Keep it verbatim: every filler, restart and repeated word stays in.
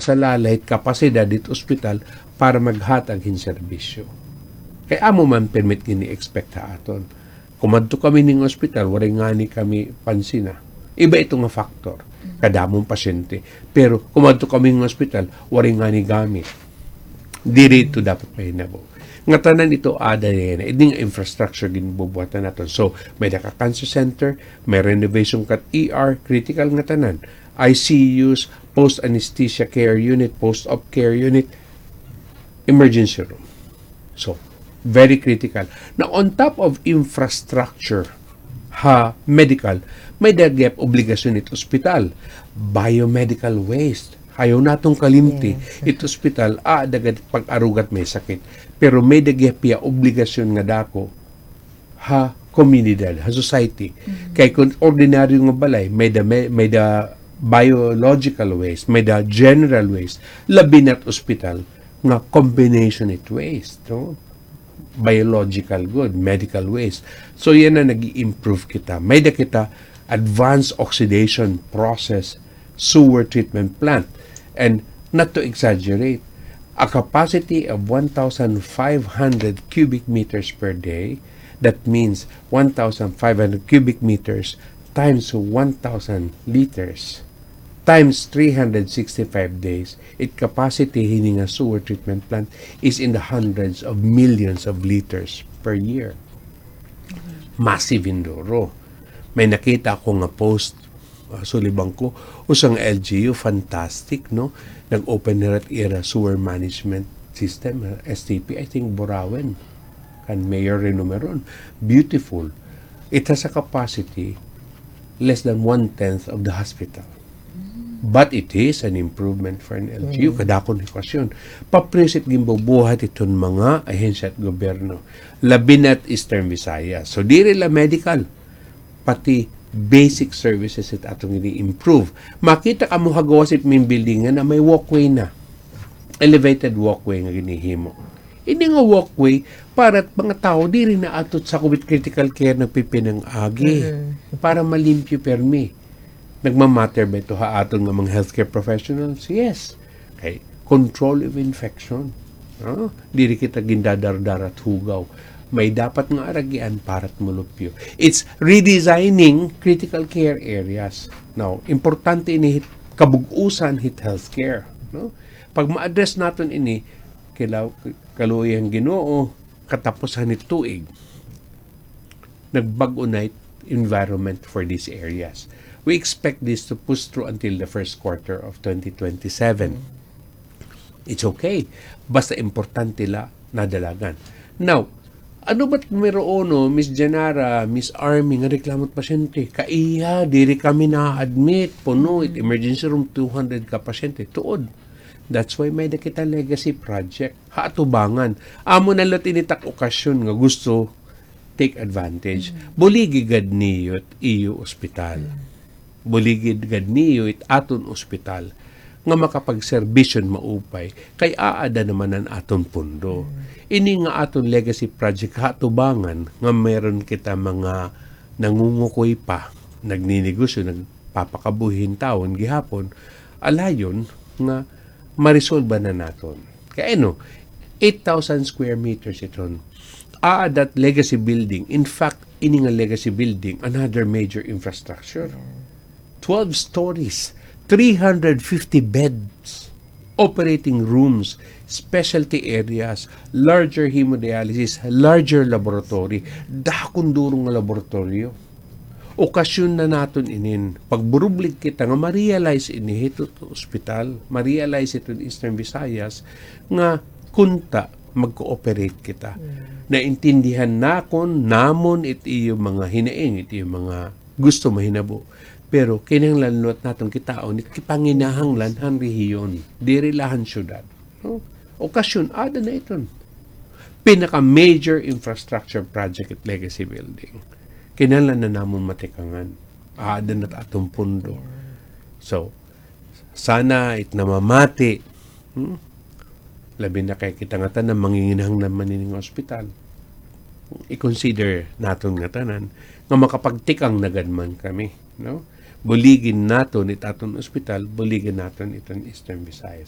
sa lalay hit kapasidad hit ospital para maghatag hin serbisyo. Kay amo man pirmi it gini-expect ha aton. Kumadto kami ning ospital, waray ngani kami pansina. Iba ito nga factor. Kadamo hin pasyente. Pero kumadto kami ning ospital, waray ngani gamit. Diri ito dapat mahinabo. Ngatanan ito, ada yana. Ini nga infrastructure ginbubuhatan naton. So, may-ada ka cancer center, may renovation ka hit E R, critical ngatanan. I C Us, post anesthesia care unit, post-op care unit, emergency room. So, very critical. Now, on top of infrastructure ha medical, may-ada gihap obligasyon it ospital. Biomedical waste. Ayaw naton kalimti. Yes. It ospital, ah, ada gad pag-aruga hit may sakit. Pero may-ada gihap hiya obligasyon nga dako ha komunidad, ha society. Kay kon ordinaryo nga balay, may-ada, may, may-ada biological waste, may-ada general waste, labi na it ospital nga combination it waste, no? Biological gud, medical waste. So, yana nag-i-improve kita. May-ada kita advanced oxidation process sewer treatment plant. And not to exaggerate, a capacity of one thousand five hundred cubic meters per day, that means one thousand five hundred cubic meters times one thousand liters times three hundred sixty-five days, it capacity hini nga sewer treatment plant is in the hundreds of millions of liters per year. Massive hin duro. May nakita ako nga post, ah, sulibang ko, usa nga L G U, fantastic, no? Nag-open hira it ira sewer management system, ah, S T P, I think, Burauen. Kan Mayor Rino Meron. Beautiful. It has a capacity less than one-tenth of the hospital. But it is an improvement for an L G U. Kadako hin okasyon. Paprisit ginbubuhat iton mga ahensya hit gobyerno. Labi na it Eastern Visayas. So, diri la medical, pati basic services it aton gini-improve. Makita kamo ha gawas it main building nga may walkway na. Elevated walkway nga ginhihimo. Ini nga walkway para it mga tawo diri na ato it sakob it critical care nagpipinang-agi. Para malimpyo pirmi. Nagmamatter ba ito ha aton nga mga healthcare professionals? Yes. Kay control of infection. No? Diri kita gindadardara hit hugaw. May dapat nga aragian para it molupyo. It's redesigning critical care areas. Now, importante ini hit kabug-usan hit healthcare, no? Pag ma-address naton ini, kila-, kaluoy han Ginoo, katapusan hit tuig, nagbag-o na it environment for these areas. We expect this to push through until the first quarter of twenty twenty-seven. It's okay. Basta importante la nadalagan. Now, ano ba it numero uno, Miss Janara, Miss Army, nga reklamo it pasyente? Kaiha, diri kami na-admit. Puno it emergency room, two hundred ka pasyente. Tuod. That's why may-ada kita legacy project ha atubangan. Amo na la ini it ak okasyon nga gusto take advantage. Buligi gad niyo it iyo ospital. Buligi gad niyo it aton ospital nga makapagserbisyo hin maupay kay aada naman an aton pondo. Ini nga aton legacy project ha atubangan nga meron kita mga nangungukoy pa, nagninegosyo, nagpapakabuhi hin tawo gihapon, alayon nga maresolba na naton. Kay ano, eight thousand square meters iton. Aada it legacy building. In fact, ini nga legacy building, another major infrastructure. Twelve stories, three hundred fifty beds, operating rooms, specialty areas, larger hemodialysis, larger laboratory. Dako hin duro nga laboratoryo. Okasyon na naton inin. Pagburublig kita nga ma-realize ini hito ospital, ma-realize hito Eastern Visayas, nga kunta mag-cooperate kita. Naintindihan nakon, namon it iyo mga hinaing, it iyo mga gusto mahinabo. Pero kinahanglan liwat naton kitaon it panginahanglan han rehiyon, diri la han syudad. No? Okasyon, aada na iton. Pinaka-major infrastructure project it legacy building. Kinahanglan na namon matikangan. Aada na it aton pondo. So, sana it namamati, hmm? Labi na kay kita ngatanan, manginginahanglan man ini nga ospital. I-consider naton ngatanan nga makapagtikang na gad man kami, no? Buligi naton it aton ospital, buligi naton iton Eastern Visayas.